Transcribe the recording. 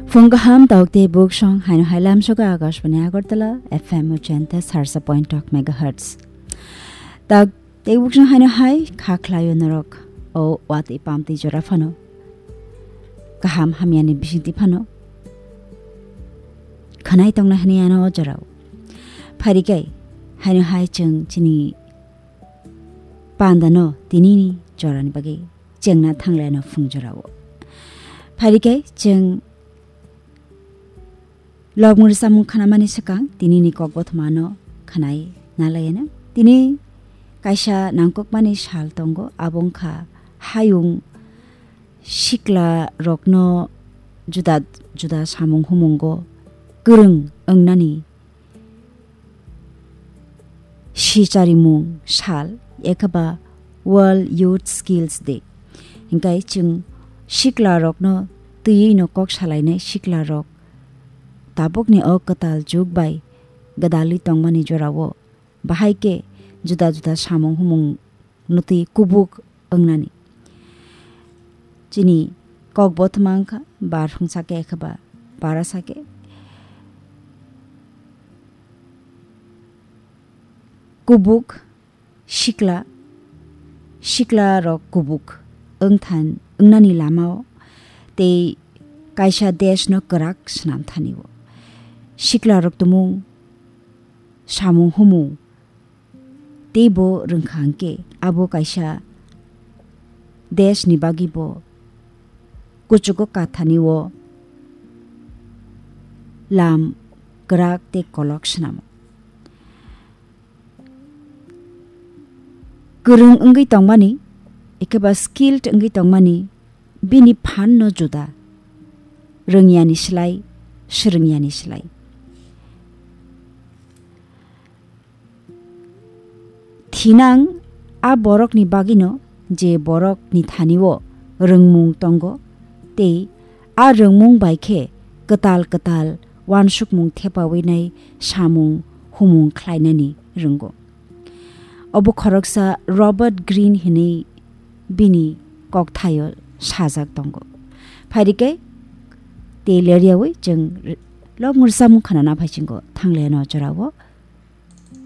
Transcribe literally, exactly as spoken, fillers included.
Phung kaham, tok tei buksong haino hai lamsoka Akashbani Agartala F M ochenta sarsa point tok megahertz. Tak tei buksong haino hai kha khlaio norok o watwi pamtwi jora phano. Kaham hamyani bisingtwi phano. Khanai tongna hini ano o jorao. Pharikai haino hai chwng chini pandano tinini jorani bagwi chengna thangleno phung jorao. Pharikai chwng Lobmuri samung khanamani swkang tinini kok bothomano khanai nalaiyana. Tini kaisa nangkukmani sal tongo, abo wngkha hayung sikla rokno juda juda samung humungo kwrwng wngnani sicharimung sal, ekhaba World Youth Skills Day. Hinkhe chwng sikla rokno twiwi no kok salainai sikla rok tabukni o kwtal jug bai gwdalwi tongmani jorao bahai khe juda juda samung humung nutwi kubuk wngnani. Chini kok bothoma wngkha bar hwngsa khe ekhaba bara sa khe kubuk sikla, sikla rok kubuk wngthan wngnani lamao tei kaisa desh no kwrak swnam thani o. Sikla rok tumung samung humung teibo rwngkha hwnkhe abo kaisa desh ni bagwi bo kuchugo kathani o lam kwrak tei kolok swnamo. Kwrwng wngwi tongmani, ekheba skilled wngwi tongmani, bini phan no juda, rwngyani slai, swrwngyani slai. Thinang a borokni bagwino je borokni thani o rwngmung tongo, tei a rwngmung bai khe kwtal kwtal uansukmung thepawi nai samung humung khlainani rwngo. Obo khoroksa Robert Greene hinwi bini kokthaio sajak tongo. Phairikhe tei leryawi chwng lobmuri samung khanana phaichingo thangleno jorao.